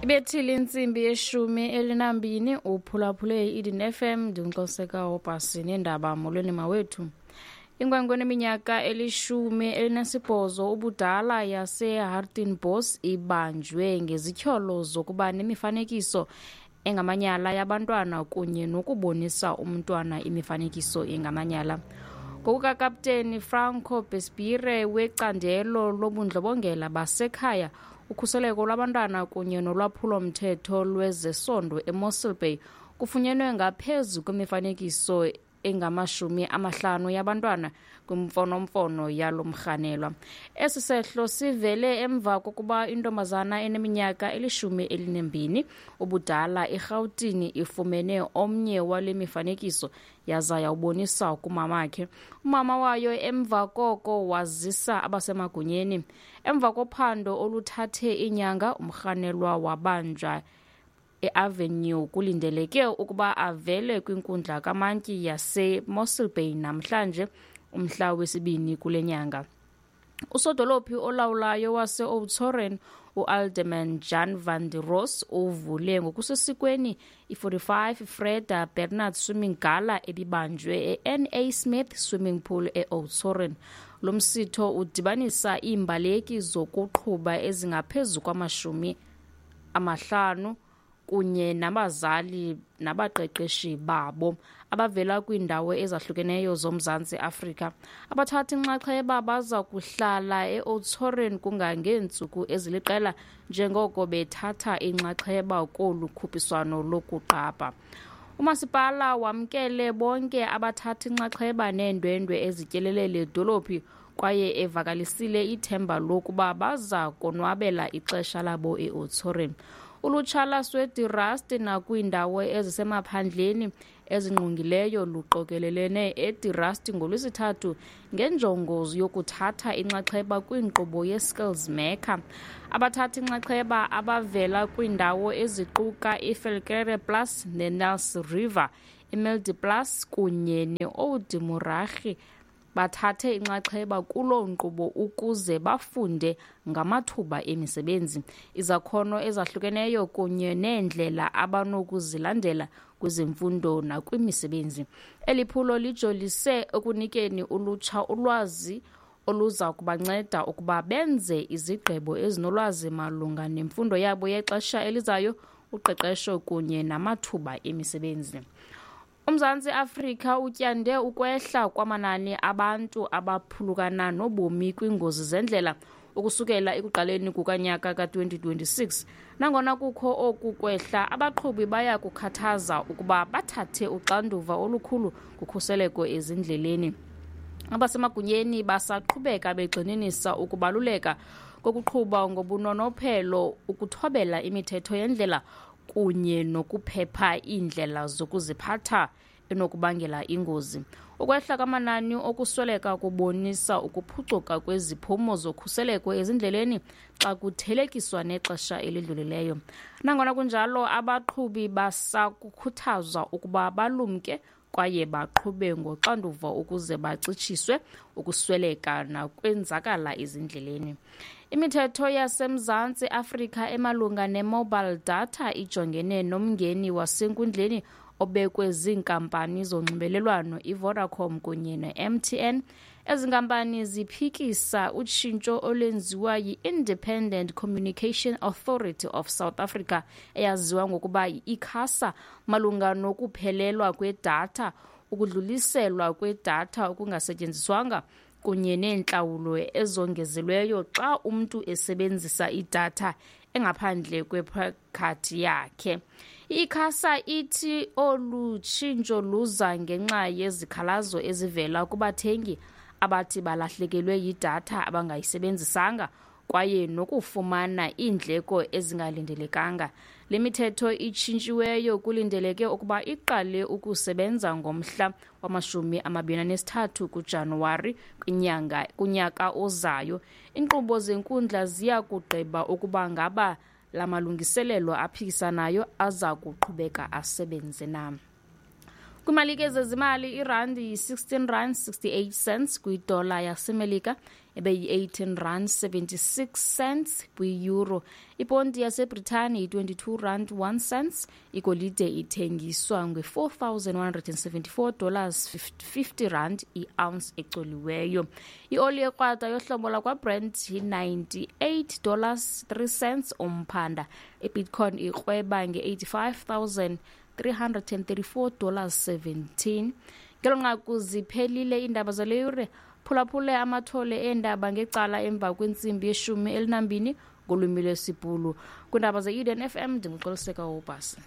Ibethile intsimbi ye-12, uphulaphule i-Eden FM. Ndinguxoseka Wobhasi neendaba. Molweni mawethu. Inkwenkwe eneminyaka eli-18 ubudala yaseHartenbos ibanjwe ngezityholo zokuba nemifanekiso engamanyala yabantwana kunye nokubonisa umntwana imifanekiso engamanyala. Ngokukakapteni Franco Besbire wecandelo lobundlobongela basekhaya, ukhuseleko lwabantwana kunye nolwaphulo-mthetho lwezesondo eMossel Bay, kufunyenwe ngaphezu kwemifanekiso engama-50 yabantwana kwimfonomfono yalo mrhanelwa. Esi sehlo sivele emva kokuba intombazana eneminyaka eli-12 ubudala eRhawutini ifumene omnye wale mifanekiso yaza yawubonisa kumamakhe. Umama wayo emva koko wazisa abasemagunyeni. Emva kophando oluthathe iinyanga, umrhanelwa wabanjwa eAvenue. Kulindeleke ukuba avele kwinkundla kamantyi yaseMossel Bay namhlanje, umhla wesibini kule nyanga. Usodolophi olawulayo wase-Oudtshoorn, uAlderman Jan van der Roos, uvule ngokusesikweni i-45 Freda Bernard Swimming Gala ebibanjwe e-NA Smith Swimming Pool e-Oudtshoorn. Lo msitho udibanisa iimbaleki zokuqhuba ezingaphezu kwama-50 kunye nabazali nabaqeqeshi babo abavela kwiindawo ezahlukeneyo zoMzantsi Afrika. Abathathi nxaxheba baza kuhlala e-Oudtshoorn kungangeentsuku eziliqela njengoko bethatha inxaxheba kolu khuphiswano lokuqapha. Umasipala wamkele bonke abathathi nxaxheba neendwendwe ezityelele le dolophi kwaye evakalisile ithemba lokuba baza konwabela ixesha labo e-Oudtshoorn. Ulutsha lwaseDe Rust nakwiindawo ezisemaphandleni ezingqongileyo luqokelelene eDe Rust ngoLwesithathu ngenjongo yokuthatha inxaxheba kwinkqubo ye-Skills Maker. Abathathi nxaxheba abavela kwiindawo eziquka iVelkerre Plus neNels River, iMilde Plaas kunye ne-Oud Muragie bathathe inxaxheba kuloo nkqubo ukuze bafunde ngamathuba emisebenzi, izakhono ezahlukeneyo kunye neendlela abanokuzilandela kwezemfundo nakwimisebenzi. Eli phulo lijolise ekunikeni ulutsha ulwazi oluza kubanceda ukuba benze izigqibo ezinolwazi malunga nemfundo yabo yexesha elizayo, uqeqesho kunye namathuba emisebenzi. UMzantsi Afrika utyande ukwehla kwamanani abantu abaphulukana nobomi kwiingozi zendlela ukusukela ekuqaleni kukanyaka ka-2026. Nangona kukho oku kwehla, abaqhubi baya kukhathaza ukuba bathathe uxanduva olukhulu kukhuseleko ezindleleni. Abasemagunyeni basaqhubeka begxininisa ukubaluleka kokuqhuba ngobunonophelo, ukuthobela imithetho yendlela kunye nokuphepha iindlela zokuziphatha enokubangela ingozi. Ukwehla kwamanani okusweleka kubonisa ukuphucuka kweziphumo zokhuseleko ezindleleni xa kuthelekiswa nexesha elidlulileyo. Nangona kunjalo, abaqhubi basakukhuthazwa ukuba balumke kwaye baqhube ngoxanduva ukuze bacitshiswe ukusweleka nakwenzakala ezindleleni. Imithetho yaseMzantsi Afrika emalunga ne-mobile data ijongene nomngeni wasenkundleni obekwe ziinkampani zonxibelelwano iVodacom kunye ne-MTN. Ezi nkampani ziphikisa utshintsho olwenziwa yi-Independent Communication Authority of South Africa, eyaziwa ngokuba yi-ICASA, malunga nokuphelelwa kwedatha, ukudluliselwa kwedatha okungasetyenziswanga kunye neentlawulo ezongezelweyo xa umntu esebenzisa idatha engaphandle kwephakathi yakhe. I-ICASA ithi olu tshintsho luza ngenxa yezikhalazo ezivela kubathengi abathi balahlekelwe yidatha abangayisebenzisanga kwaye nokufumana iindleko ezingalindelekanga. Le mithetho itshintshiweyo kulindeleke ukuba iqale ukusebenza ngomhla wama-23 kuJanuwari kwinyanga kunyaka ozayo. Iinkqubo zenkundla ziya kugqiba ukuba ngaba la malungiselelo aphikisanayo aza kuqhubeka asebenze na. Kwimalike zezimali, irandi yi-16 rand 68 cents kwidola yaseMelika. ebeyi-18 rand 76 cents kwi-euro. Iponti yaseBritani yi-22 rand 1 cents. Igolide ithengiswa nge-4174 dollars 50 rand i-ounce ecoliweyo. Ioli ekrwada yohlobo lakwaBrent yi-98 dollars 3 cents umphanda. Ibitcoin ikrweba nge-85 334 dollars 17. Ngelo nqaku ziphelile iindaba zale yure. Phulaphule amathole eendaba ngecala emva kwentsimbi yeshumi elinambini ngolwimi lwesiBhulu. Kwiindaba ze-Eden FM ndinguXoliseka Wobhasi.